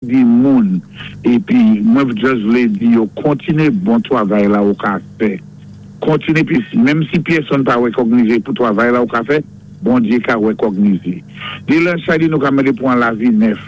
Di moun epi mwen just vlé di yo kontiné bon twavay la ou ka fè kontiné pi menm si pyèsonn pa wèkògnizé pou twavay la ou ka fè Bondye ka wèkògnizé de lè sa di nou ka mandé pou an lavi nèf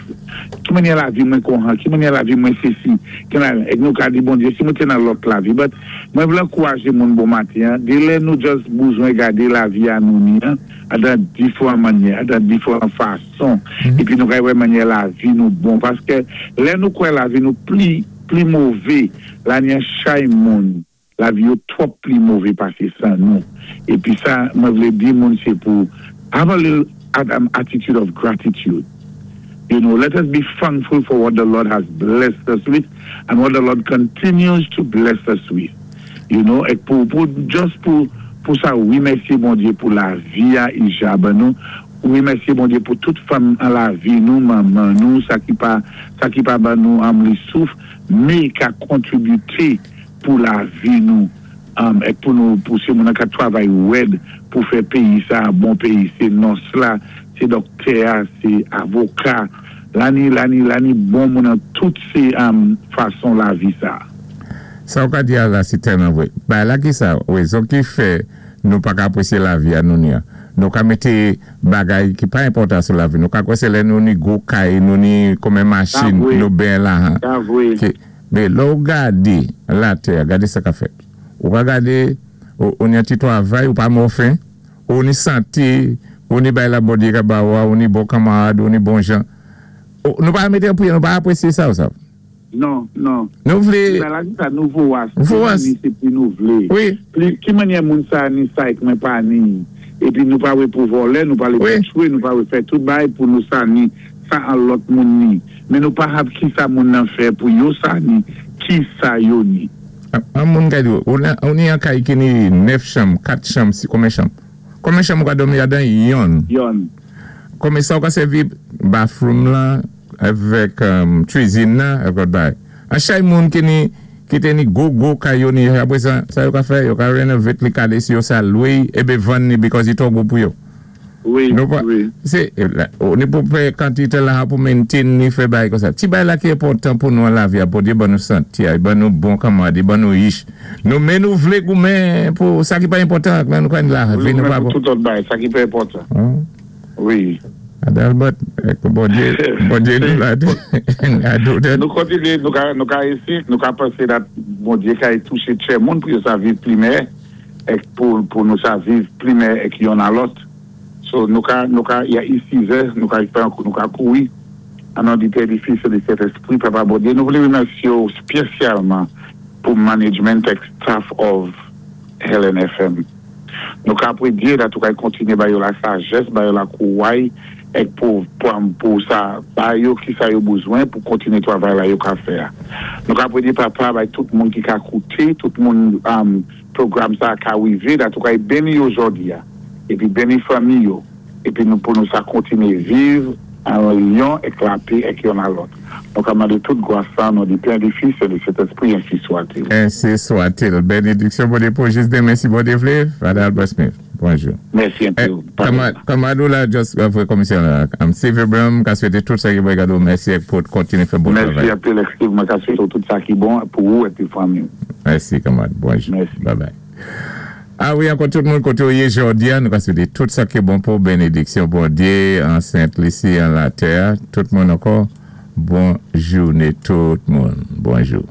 ki mannyè lavi mwen konhan ki mannyè lavi mwen sesi ki la èk nou ka di Bondye si mwen té nan lòt lavi but mwen vlé ankourajé moun bon maten an de lè nou just bouzwen gadé lavi a nou ni an adan difran mannyè adan difran fason. Son epi nou kay wè manyè lavi nou bon paskè lè nou kwè lavi nou pli pli move lani an chay moun lavi yo twòp pli move pase nou epi sa mwen vle di moun se pou have a little attitude of gratitude let us be thankful for what the Lord has blessed us with and what the Lord continues to bless us with ek pou pou just pou pou sa remèsye Bondye pou lavi a i ja ban nou. Remèsye Bondye pou tout fanm an lavi nou, manman nou, sa ki pa sa ki pa ban nou li souf, mé ka kontribité pou lavi nou èk pou nou pou sé moun an ka twavay wèd pou fè péyi sa a bon péyi sé nòs la, sé dòktè a, sé avoka, lani lani lani bon moun an tout sé fason lavi sa a. Sa ou ka di a la se tèlman vre. Bagay la ki sa, rezon ki fè nou pa ka apresye lavi a nou ni an. Nou ka mete bagay ki pa enpòtan sou lavi. Nou ka kwè se lè nou ni gwo kay, nou ni konbyen machin, nou ben lajan. Ki, men lè ou gade latè, gade sa k ap fèt. Ou ka gade, ou ni yon ti twavay, ou pa mò fen, ou ni sante, ou ni bay la Bondye ka ba ou a, ou ni bon kanmarad, ou ni bon jan. Nou pa mete anpil, nou pa apresye sa ou sa. Non, non. Nou vle. Ti maladi sa nou vowas. Vowas. Ni se pli nou vle. Wi. Pli, ki manyè moun sa ni sa ek mwen pa ni. Epi nou pa wè pou vòlè, nou pale pou tchwe, nou pa wè fè tout bagay pou nou sa ni sa an lòt moun ni. Men nou pa hab ki sa moun nan fè pou yo sa ni, ki sa yo ni. An moun ka di ou, ou ni an kay ki ni 9 chanm, 4 chanm, si konbyen chanm? Konbyen chanm ou ka dòmi ladan? Yonn. Yonn. Konbyen sa ou ka sèvi bathroom lan? Avèk cuisine nan avèk lòt bagay. An chay moun ki ni ki te ni gwo gwo kay yo ni apre sa sa yo ka fè yo ka renovate li kale si yo sa lwe y ebe vann ni because li twò gwo pou yo. Wi Nou pa wi. se ou ni pou peye kantite lajan pou maintain ni fè bagay konsa. Ti bagay la ki enpòtan pou nou an lavi a Bondye ban nou sante a li ban nou bon kanmarad li ban nou rich nou men nou vle goumen pou sa ki pa enpòtan lè nou ka ni lavi Vle nou goumen pa pou tout lòt bagay sa ki pa enpòtan. Wi. Adalbert, Bondye, Bondye nou la tou. Nou kontinye, nou ka, nou ka esi, nou ka panse dat Bondye ka touche tchè moun pou yo sa viv pli mèyè, èk pou, pou nou sa viv pli mèyè èk yonn a lòt. So, nou ka, nou ka, ya i sizè, nou ka fè, nou ka kouri. An non di Pè, di Fis e di Sentespri, Papa Bondye, nou vle remèsye w spyesyalman pou management èk staff of Helen FM. Nou ka predye dat ou kay kontinye ba yo la sajès, ba yo la kouway èk pou pou sa ba yo ki sa yo bouzwen pou kontinye twavay la yo ka fè a. Nou ka predye Papa bay tout moun ki ka koute, tout moun pwogram sa ka rive dat ou kay beni yo jòdi a epi beni fanmi yo epi nou pou nou sa kontinye viv an linyon èk lape èk yonn a lòt. Nou ka mande tout gwa sa non di Pè, di Fis e di Sentespri ensi swatil. Ensi swatil. Benediksyon Bondye pou jis demen si Bondye vle. Father Albert Smith. Bonjou. Mèsi anpil. Kanmarad ou la just vre komisyon la. I'm Steve Abraham m ka swete tout sa ki bon gade w mèsi ek pou kontinye fè bon travay. Mèsi anpil Steve mwen ka swete w tout sa ki bon pou ou epi fanmi w. Mèsi kanmarad. Bonjou. Mèsi. Bye bye. A wi ankò tout moun kote ou ye jodi a nou ka swete tout sa ki bon pou benediksyon Bondye an Sent Lisi an latè a tout moun ankò bon joune tout moun bonjou.